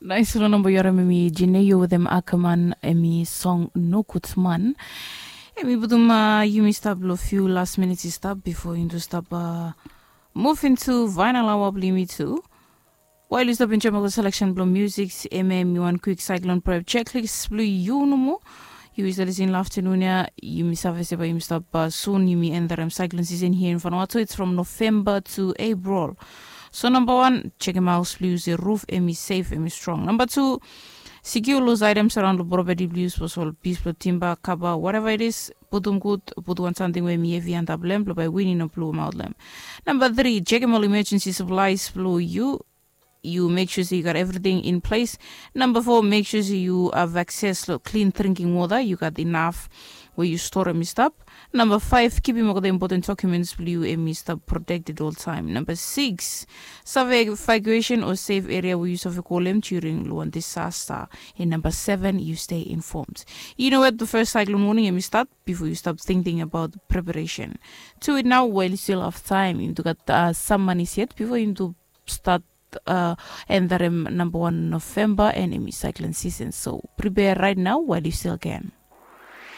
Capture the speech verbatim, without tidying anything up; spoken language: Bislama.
Nais long namba yu harim em i Jineio wetem Ackerman, em i song Nogud Man. Em i putum uh, yumi stap long few last minutes i stap before yumi stap uh, move into final hour bilong yumi tu. While yu stap enjoy the selection bilong music, em em i wan quick cyclone prep checklist bilong yu nomo. Yu is listening love afternoon ya. Yumi save se bai yumi stap uh, soon yumi end the cyclone season here in Vanuatu. It's from November to April. So number one, check him out, please. The roof, em is safe, em is strong. Number two, secure loose items around the property, please. Posol piece of timber, cover, whatever it is. Putum good, put one something where mi heavy and up lamp, by winning a blue mouth lamp. Number three, check him all emergency supplies, blue you. You make sure you got everything in place. Number four, make sure you have access to clean drinking water. You got enough where you store them stop. Number five, keep him all the important documents blue em i stap protected all time. Number six, save evacuation or safe area where you save call them during one disaster. And number seven, you stay informed. You know what? The first cyclone warning em i start before you stop thinking about preparation. Do it now while you still have time. You got uh, some money yet before you start uh, and that em number one November and em i cyclone season. So prepare right now while you still can.